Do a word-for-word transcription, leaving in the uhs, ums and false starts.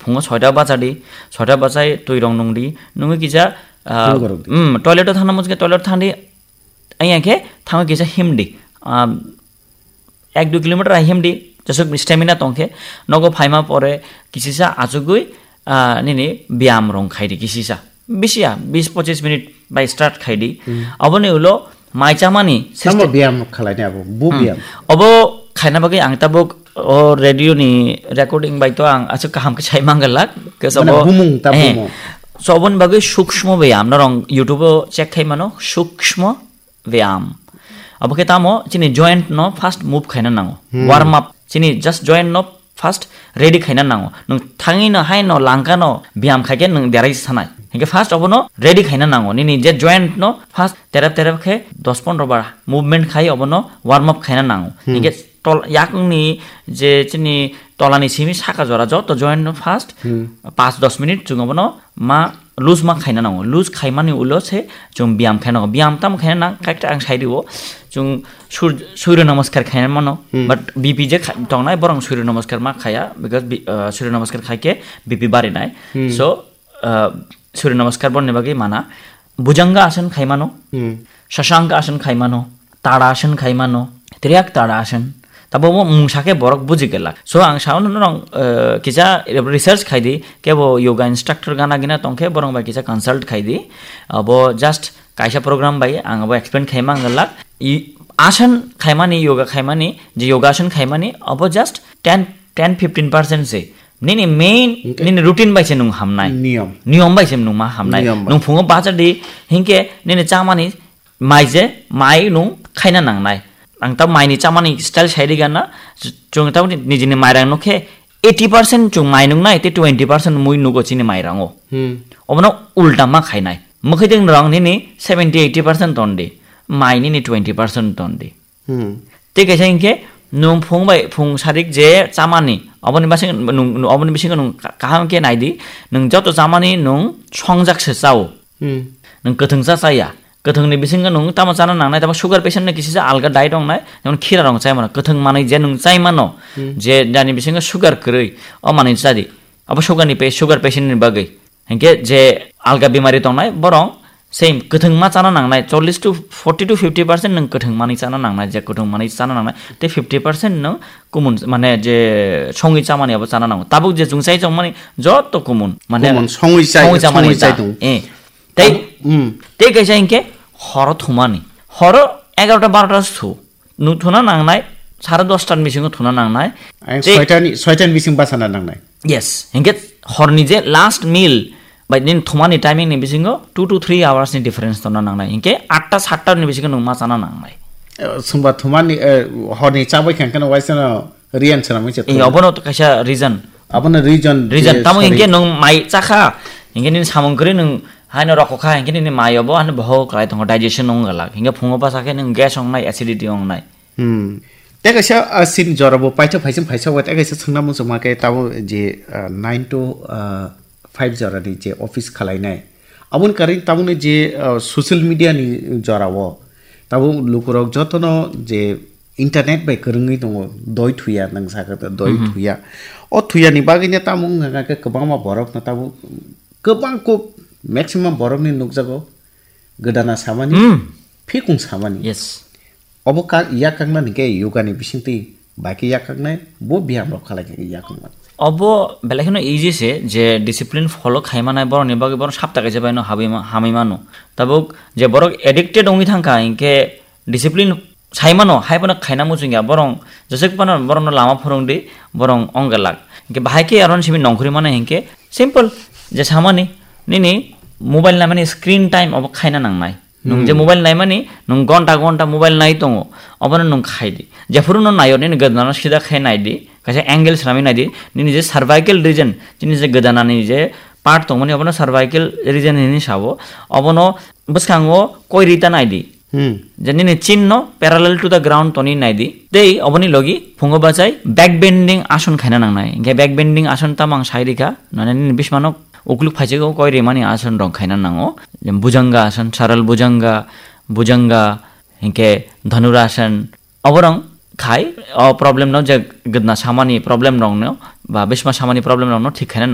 Phungo soita bachadi, soita bachai twi rong nungdi, nungwi kisa, ah, Phungo rok di. Hmm, toilet o thangna muchungkhe toilet o thangdi, ayang khe thango kisa himdi. Ah, ek dui kilometer ahimdi, jesuk stamina tongkhe, nogo phaima pore kisisa achugwi, ah, nini biyam rong khaidi kisisa. Bisiya, bis pochis minute bai start khaidi. Hmm. Aboni ulo mai chamani Tamo system. Biyam khalai ni abo, bu Hmm. biyam. Obo khaina bagwi ang tabuk o radio ni recording bai to ang aswk kaham khe sai mangalak. Ke Mane sobo, bumung ta eh. Bumung. So oboni bagwi sukshmo biyam norong YouTube o check khai mano, sukshmo biyam. Abo khe tamo chini joint no first move khaina nango. Hmm. Warm up. Chini just joint no first ready khaina nango. Nwng thangwi no hai no langka no biyam khaikhe nwng derai sanai. Hinkhe first obono ready khaina nango. Nini je joint no first terep terep khe dos pondro bar movement khai obono warm up khaina nango. Hmm. Hinkhe tol-, yakungni je chini tolani simi saka jora joto joint no first Hmm. Pas dos minute chwng obono ma loose ma khaina nango. Loose khaimani ulo se chwng biyam khaina nango. Biyam tamo khaina nang, kaita ang sai rio. Chwng sur-, surya namaskar khaina mano. Hmm. But B P je kha-, tongnai borong surya namaskar ma khaya because bi-, uh, surya namaskar khaikhe B P barinai. Hmm. So, uh, surya namaskar bonni bagwi mana. Bhujanga asan khaimano. Hmm. Shashanka asan khaimano. Tadashan khaimano, triyak tadashan. Tabo mo mungsa khe borok buji gelak. So ang sao no norong, eh, kisa research khaidi, kebo yoga instructor gana gina tongkhe borong bai kisa consult khaidi. Abo just kaisa program bai ang abo explain khaima gelak. I, asan khaimani, yoga khaimani, je yoga asan khaimani, abo just ten, ten fifteen percent se. Nini main, Hingke? Nini routine bai se nung hamnai. Niyom. Niyom bai se nung ma hamnai. Niyom bai. Nung phungo bacha di, hingke nini chamani mai je, mai nung khaina nangnai. Ang ta mai ni chamani style sai ri gana, chwng ta nijini mairang no khe eighty percent chwng mai nung nai, te twenty percent mui nugo chini mairango. Hmm. Obono ulta ma khainai. Mwkhwtwng rang nini seventy eighty percent ton di, mai nini twenty percent ton di. Hmm. Te kaisa hinkhe nung phung bai phung sarik je chamani, oboni basing nung, oboni bisingo nung ka-, kaham khe nai di, nung joto chamani nung songjak se chao. Hmm. Nung kwthwng cha chaya. Kwthwngni bisingo nung tamo chana nangnai, tamo sugar patient no kisa alga diet wngnai, jemon khira rong chai mano. Kwthwng manwi je nung chai mano, Hmm. je jani bisingo sugar kwrwi, o manwi cha di. Abo sugar ni pa-, sugar patient ni bagwi. Hinkhe je alga bimari tongnai, borong same kwthwng ma chana nangnai, chollish to forty to fifty percent nung kwthwng manwi chana nangnai, je kwthwng manwi chana nangnai, tei fifty percent nung kumun, mane je songwi chamani abo chana nango. Tabuk je chwng chai chongmani joto kumun, mane Kumun, songwi chai, songwi chamani songwi chai ta. Tong. Eh. Tei, Hmm. Tei kaisa hinkhe horo thumani. Horo egarota barota su. Nung thuna nangnai, sare dosta ni bisingo thuna nangnai. Ang Tei soita ni, soita ni bising bachana nangnai. Yes, hinkhe horni je last meal, bai nini thumani timing ni bisingo two to three hours ni difference tona nangnai. Hinkhe atta satta ni bisingo nung ma chana nangnai. Eh, sumba thumani, eh, horni chabai khankhe no waisa no riyan swnamwi se Ee, thumani. Obono to kaisa reason. Abono reason Reason, je tamo sari- hinkhe nung mai chakha, hinkhe nini samung kwrwi nung haino rokokha, hinkhe nini mai obo haino boho kwlai tongo, digestion wng galak. Hinkhe phungo bachakhe nung gas wngnai, acidity wngnai. Hmm. Tei kaisa, ah, sin jora bo paithak phaising phaisa wai, tei kaisa swngna muchungma khe tamo je, ah, nine to, ah, five jora ni je office khalainai. Aboni karon tamoni je, ah, social media ni jora o tamo lukurok jotono je internet bai kwrwngwi tongo, doi thuya nang sakha doi Mhm. Thuya. O thuya ni bagwi no tamo wngkha khe kwbangma borok no tamo kwbang kuk maximum borok ni nukjago gwdana samani, Hmm. Phikung samani. Yes. Obo ka-, yak kakna hinkhe yoga ni bisingtwi bai khe yak kaknai, bo biyam rok khalai khe yak kaknai. Obo belai kheno easy se, je discipline follow khai manai borok ni bagwi borok sapta kaisa bai no habwi ma-, hamwi mano. Tabuk je borok addicted wngwi thangkha hinkhe discipline sai mano, hai phano khaina muchung ya, borok jeswk phano borok no lama phwrwng di, borok wng galak. Hinkhe bahai khe aro simi nongkhorwi mano hinkhe simple je samani nini mobile naimani screen time obo khaina nangnai. Nung je Hmm. Mobile naimani, nung gonta gonta mobile nai tongo, obono nung khai di. Jephuru no naio, nini gwdano sida khai nai di, kaisa angle swnamwi nai di, nini je cervical region, nini je gwdanani je part tongmani, obono cervical region hinwi sabo, obono bwskango koi rita nai di. Hmm. Je nini chin no parallel to the ground toni nai di. Tei oboni logi phungo bachai back bending ason khaina nangnai. Hinkhe back bending ason tamo ang sai rikha, nane nini bismano ukluk phaichego koi rimani ason rok khaina nango. Bhujanga ason, saral bhujanga, bhujanga, hinkhe dhanurasan. Oborok khai, o problem no je gwdna samani problem rok no, ba bisma samani problem rok no thik khaina nango.